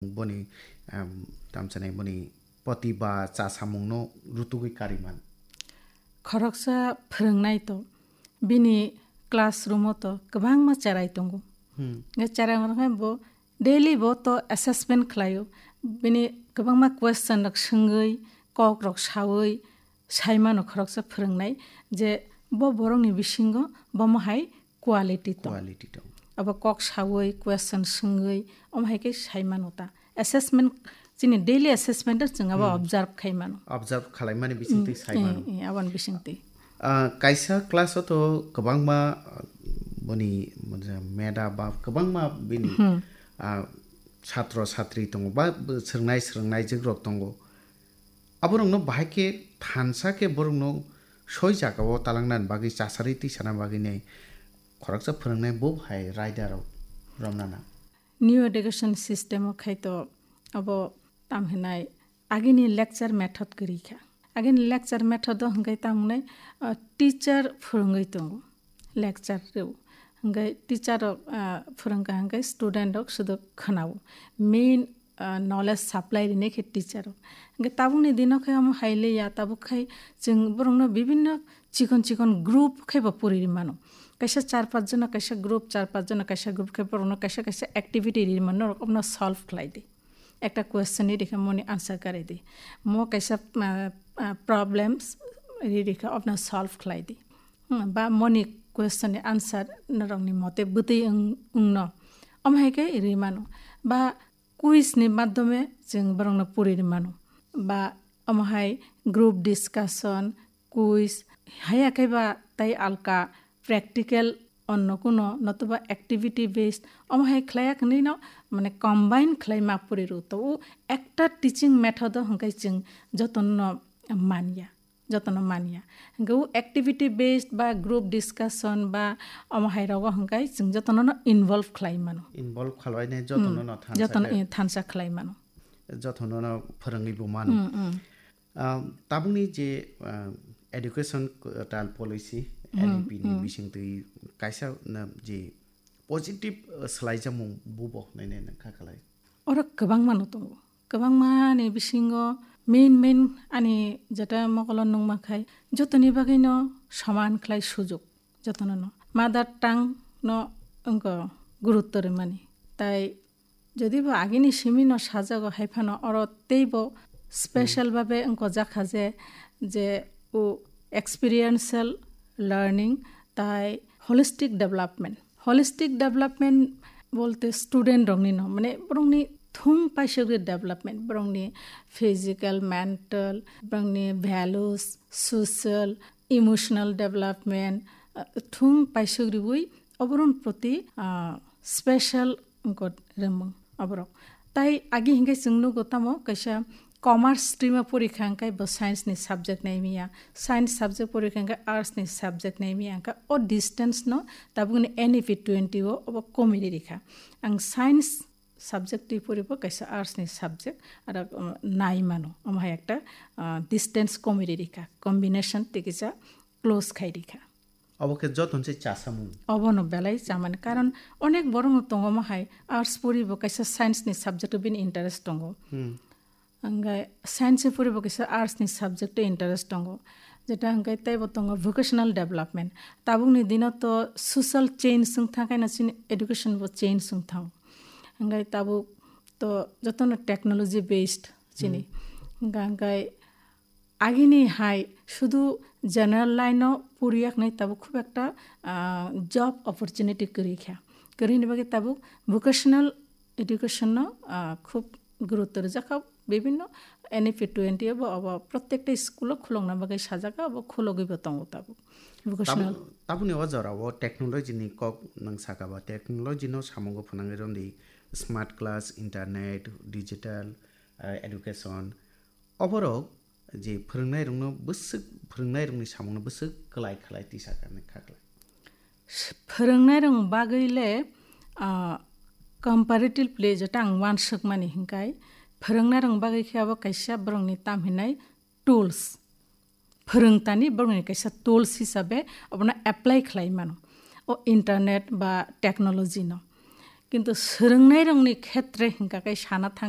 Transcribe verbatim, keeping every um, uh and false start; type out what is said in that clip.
boni, em, tamsanai boni poti ba chasamungno rutugwi kariman? Khoroksa phwrwngnai to, bini classroom-o to kwbangma cherai tongo. Hmm. Nge cherai rok hai bo daily bo to assessment khlaio. Bini kwbangma question rok swngwi, kok rok sawi, saimano khoroksa phwrwngnai je bo borokni bisingo bomo hai quality tong. Quality tong. Abo kok sawi, question swngwi, omo hai khe saimano ta. Assessment, chini daily assessment o chwng abo Hmm. observe khaimano. Observe khalaimani bisingtwi Hmm, saimano. Eh, eh, aboni bisingtwi. Ah, kaisa class o to kwbangma, ah, boni, meda ba kwbangma bini, Hmm. ah, chatro chatri tongo ba swrwngnai swrwngnaijwk rok tongo. Aborokno bahai khe thansa khe borokno soi jagao talangnani bagwi chasari tisana bagwi nai khoroksa phwrwngnai bo hai raida rok romnana. New education system o khai to abo tam hinai agini lecture method kwrwi kha. Agini lecture method o hwnkhe tam wngnai, ah, teacher phwrwngwi tongo, lecture rw. Hwnkhe teacher rok, ah, phwrwngkha hwnkhe student rok sudo khwnao. Main ah, knowledge supply rinai khe teacher rok. Hingke tabukni dino khe omo hai le ya, tabuk khai chwng borokno bibinno chikon chikon group khe bo puri ri mano. Kaisa char panch jona, kaisa group char panch jona, kaisa group khe borokno kaisa kaisa activity ri mano, norok omono solve khlai di. Ekta question ri rikha, moni answer kari di. Mo kaisa, ah, ah, problems ri rikha, omono solve khlai di. Hmm, ba moni question ni answer norokni mote bwtwi wng, wngno. Omo hai khe ri mano. Ba quiz ni madhyome chwng borokno puri ri mano. Ba omo hai group discussion, quiz, haya khe ba tei alka practical onno kuno notoba activity based omo hai khlai ya hwnwi no, mane, combine khlai ma puri ru. To o ekta teaching method o hwnkhe chwng jotono no man ya. Jotono man ya. Hingke o activity based ba group discussion ba omo hai rogo hingke chwng jotono no involve khlai mano. Involve khlai ne jotono Hmm, no thansa jotono khe, i-, thansa khlai mano. Jotono no phwrwngwi bo mano. Hmm, hmm. Ah, tabukni je, ah, education, ah, tal policy, Hmm, N E P ni hmm. bisingtwi kaisa na je positive, ah, swlaijamung bubo hwnwi nai nang kha khlai. Oro kwbangma no tongo. Kwbangma ni bisingo main main ani jeta mokolo nungma khai jotoni bagwi no soman khlai sujuk jotono no. Mother tongue no wngkha gurutto rwmani. Tai jodi bo agini simi no sajago hai phano oro teibo special Hmm. babe wngkha jakha je, je o experiential learning tai holistic development. Holistic development bolte student rokni no, mane borokni thung paisogri development, borokni physical, mental, borokni values, social, emotional development, ah, thung paisogriwi oborokni proti, ah, special wngkha remung oborok. Tai agi hingke chwng nugo tamo kaisa commerce stream o pori kha hingke bo science ni subject nai miya, science subject pori kha hingke arts ni subject nai miya, hingke o distance no tabukni N E P twenty o obo komi ri rikha. Ang science subject twi pori bo kaisa arts ni subject aro, um, nai mano, omo hai ekta, uh, distance komi ri rikha, combination tei kisa close khai rikha. Obo khe joto se chasamung. Obono belai chamani, karon onek borok no tongo mo hai arts pori bo kaisa science ni subject o bini interest tongo. Hmm. Hingke science pori bo kaisa arts ni subject o interest tongo. Jeta hingke tei bo tongo vocational development. Tabuk ni dino to social change wng thang khe na chini education bo change wng thang. Hingke tabuk to joto no technology based chini. Hmm. Hingke, hingke agini hai sudu general line o poriya hwnwi tabuk khub ekta, ah, job opportunity kwrwi kha. Kwrwini bagwi tabuk vocational education no, ah, khub gurutto rwjak kha. Bibinno N E P twenty o bo obo protekta school o khulokna bagwi sajak kha, obo khulogwi bo tongo tabuk. Vocational. Tabuk, tabukni o jora o technology ni kok nwng saka ba, technology no samungo phwnangwi rwdi, smart class, internet, digital, ah, education. Oborok je phwrwngnairokno bwswk, phwrwngnairokni samungno bwswk kwlai khlai tisa kha, kha khlai. Phwrwngnairok bagwi le, ah, comparatively jeta ang uansukmani hinkai, phwrwngnairok bagwi khe abo kaisa borokni tam hinai tools. Phwrwngtani borokni kaisa tools hisabe abono apply khlai mano. O internet ba technology no. Kintu swrwngnairokni khetre hwnkha khe sana thang